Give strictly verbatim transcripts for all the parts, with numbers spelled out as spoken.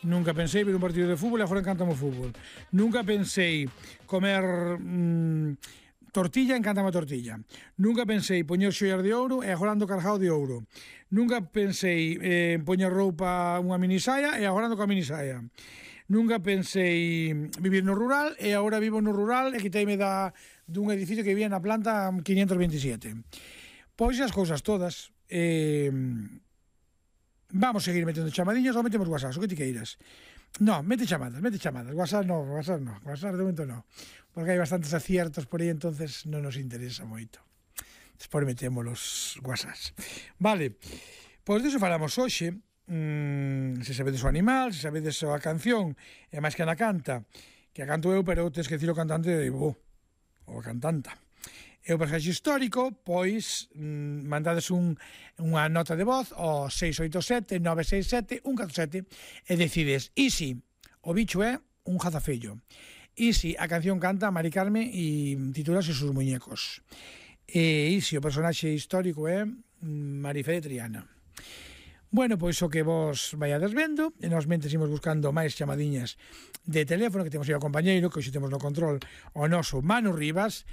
Nunca pensei ver un partido de fútbol e agora encantame o fútbol. Nunca pensei comer mmm, tortilla, encantame a tortilla. Nunca pensei poñer xoias de ouro e agora ando cargado de ouro. Nunca pensei eh, poñer roupa unha minisaia e agora ando coa minisaia. Nunca pensei vivir no rural e agora vivo no rural e quiteime da, dun edificio que vivía na planta quinientos veintisiete. Pois as cousas todas. Eh, vamos seguir metendo chamadiñas ou metemos WhatsApp, o que ti queiras. No, mete chamadas, mete chamadas. WhatsApp no, WhatsApp no, WhatsApp de momento no. Porque hai bastantes aciertos por aí, entonces non nos interesa moito. Despois metemos os WhatsApps. Vale, pois diso falamos hoxe. Mm, se sabedes o animal, se sabedes a canción, e máis que na canta, que a canto eu, pero tens que dicir o cantante de bo, ou a cantanta. E o personaxe histórico, pois, mmm, mandades un, unha nota de voz ao seis oito sete, nove seis sete, un catro sete e decides, e si o bicho é un jazafello, e si a canción canta Mari Carme e titúlase Sus muñecos, e si o personaxe histórico é Marifé de Triana. Bueno, pois o que vos vaiades vendo, e nos mentes imos buscando máis chamadiñas de teléfono, que temos aí o compañeiro, que hoxe temos no control o noso Manu Rivas,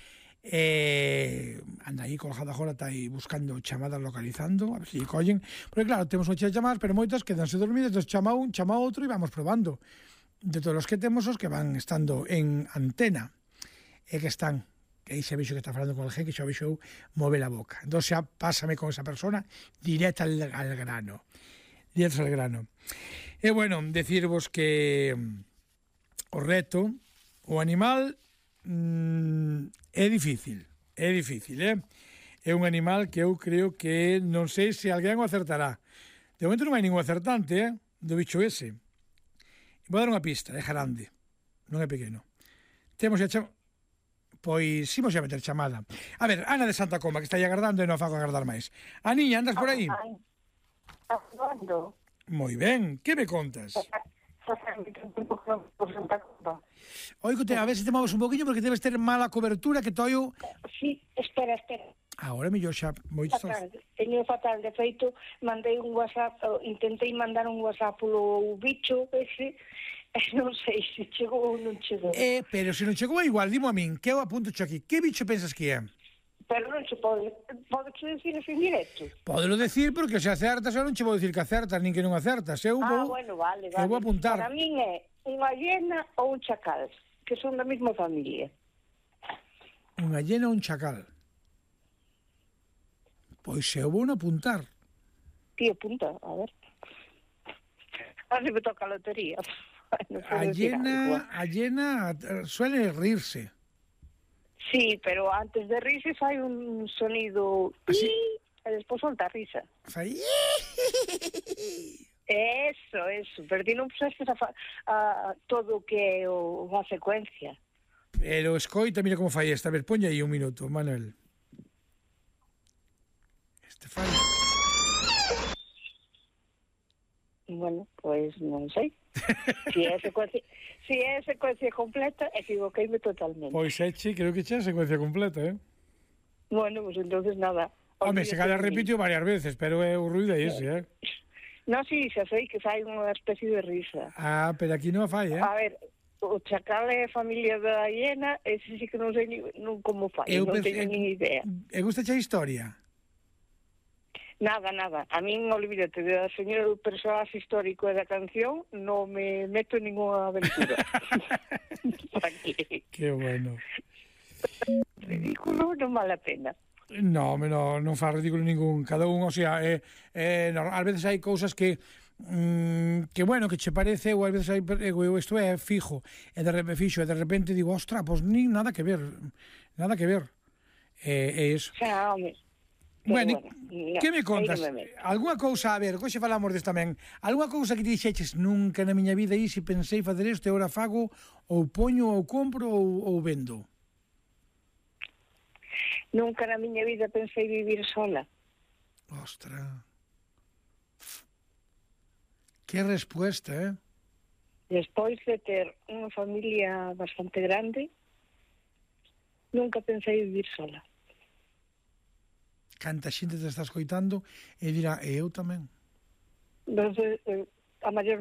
e anda aí colgado agora, está aí buscando chamadas, localizando, a ver se lle collen, porque claro, temos ocho chamadas, pero moitas quedanse dormidas, entón chama un, chama outro e vamos probando de todos os que temos os que van estando en antena e que están, que aí xa vexo que está falando con el gen, que xa vexo mover a boca, entón xa pásame con esa persona directa al, al grano directo al grano. E bueno, decirvos que o reto, o animal mm, é difícil, é difícil, eh? É un animal que eu creo que non sei se alguén o acertará. De momento non hai ningún acertante, eh? Do bicho ese. Vou dar unha pista, é grande, non é pequeno. Temos a chamada, pois imos a meter chamada. A ver, Ana de Santa Coma, que está aí agardando e non fago agardar máis. Aniña, andas por aí? Agardando. Moi ben, que me contas? Oigote, a ver se te moves un poquinho porque debes ter mala cobertura que toio... Sí, espera, espera. Agora mellor xa moitos... Fatal, teño fatal, de feito, mandei un WhatsApp, intentei mandar un WhatsApp polo bicho ese, non sei se chegou ou non chegou. Eh, pero se non chegou igual, dimo a min, que eu apunto cho aquí, que bicho pensas que é? Pero non se pode, pode che dicir en directo? Podelo decir porque se acertas, eu non che vou dicir que acertas, nin que non acertas, eu ah, vou... bueno, vale, vale. Eu vou apuntar. Para min é unha hiena ou un chacal, que son da mesma familia. Unha hiena ou un chacal? Pois eu vou non apuntar. Ti apunta, a ver. A ver se me toca a lotería. No a hiena, a hiena suele rirse. Sí, pero antes de rirse fai un sonido ¿así? E despois solta a risa. Fai... Eso, eso, pero ti non puxestes a, a todo o que é o, a secuencia. Pero escoita, mira como fai esta. A ver, poña aí un minuto, Manuel. Este fai... Bueno, pois pues, non sei. Si é secuencia, si é secuencia completa, equivoqueime totalmente. Pois eche, creo que xa é secuencia completa, eh? Bueno, pois pues entonces nada. Home, se cada repitió varias veces, pero é o ruido é ese, eh? No, si, sí, xa sei que fai unha especie de risa. Ah, pero aquí non fai, eh? A ver, o chacal é familia da hiena, ese sí que non sei ni, non como fai, eu non teño nin idea. E gusta xa a historia? Nada, nada. A min, olvídate, da señora do personaxe histórico e da canción, non me meto en ninguna aventura. Que bueno. Ridículo non vale a pena. No, no, non fa ridículo ningún. Cada un, o sea, eh, eh, no, ás veces hai cousas que mm, que bueno, que che parece, ou ás veces hai, eu, isto é fijo, e de repente fixo, e de repente digo, ostra, pois pues, nin nada que ver, nada que ver. É eh, eso. Xa, home. Bueno, bueno, que me contas? No me Alguna cousa, a ver, hoxe falamos desta tamén. Alguna cousa que ti dixeches nunca na miña vida e se pensei facer isto e ora fago, ou poño, ou compro, ou, ou vendo? Nunca na miña vida pensei vivir sola. Ostra. Que respuesta, eh? Despois de ter unha familia bastante grande, nunca pensei vivir sola. Canta xente te está escoitando e dirá, e eu tamén. Entonces, a maior